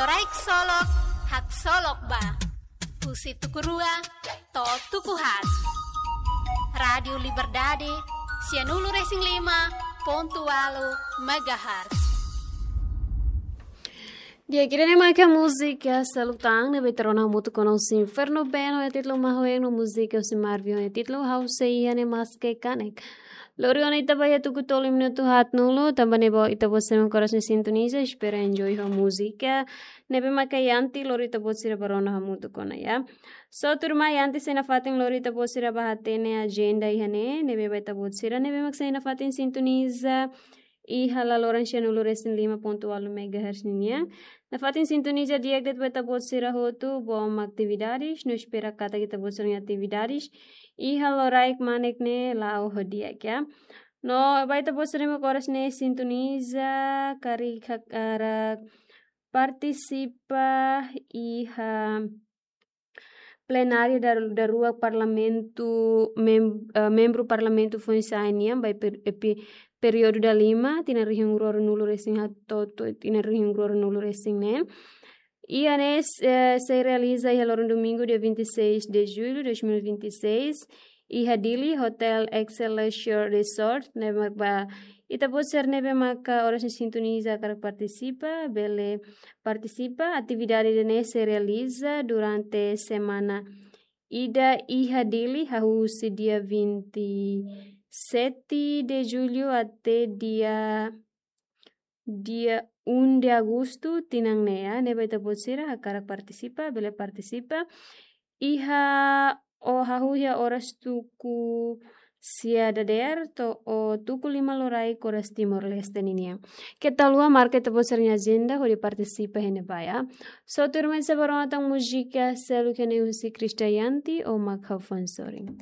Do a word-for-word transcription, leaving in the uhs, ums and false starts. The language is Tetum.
Loraik solok, haksolok ba. Husi tuku rua to'o tuku haat. Rádiu Liberdade, sianulu-resin-lima pontu ualu megahertz. Di'ak, ida-ne'e maka múzika seluk tan ne'ebé ita rona hamutuk ona husi Inferno Band ho títulu Mahoeng no múzika husi Marvin ho títulu Ha'u Sei Iha Ne'e Maske Kanek. Lori ona ita ba iha tuku tolu minutu haat-nulu, tanba ne'e ba ita-boot sira mak oras ne'e sintoniza, espera enjoy ho múzika ne'ebé maka Yanti lori ita-boot sira ba rona hamutuk ona, ya. So, tuirmai, antes sei nafatin lori ita-boot sira ba hatene ajenda iha ne'e, ne'ebé ba ita-boot sira ne'ebé mak sei nafatin sintoniza iha laloran sianulu-resin-lima pontu ualu megahertz ninian. Nafatin sintoniza di'ak de'it ba ita-boot sira hotu, boom atividades, no espera katak ita-boot sira-nia atividades iha loraik manek ne'e la'o ho di'ak, ya. No ba ita-boot sira mak oras ne'e sintoniza, karik hakarak partisipa iha plenária dar-, daruak Parlamentu, mem-, eh, membru Parlamentu foin-sa'e nian ba per-, epi-, períodu dalima, tinan rihun rua ruanulu-resin-haat to'o tinan rihun rua ruanulu-resin-neen. Iha ne'e, eh, sei realiza iha loron domingu, dia vinte e seis de julho de dois mil e vinte e seis, iha Dili, Hotel Excelsior Resort, ne'ebé mak ba ita-boot sira ne'ebé maka oras ne'e sintoniza hakarak partisipa, bele partisipa. Atividade ida-ne'e sei realiza durante semana ida iha Dili, hahú husi dia vinte e sete de julho até dia, dia um de agosto, tinan ne'e, ya. Ne'ebé ita-boot sira hakarak partisipa, bele partisipa. Iha o hahú iha oras tuku sia dadeer to'o tuku lima loraik oras Timor-Leste ninian. Keta haluha marka ita-boot sira-nia ajenda hodi partisipa iha ne'ebá, ya. So, tuirmai, sei ba rona tan múzika seluk iha ne'e husi Krisdayanti, Ó Mak Ha'u Foin Sorin.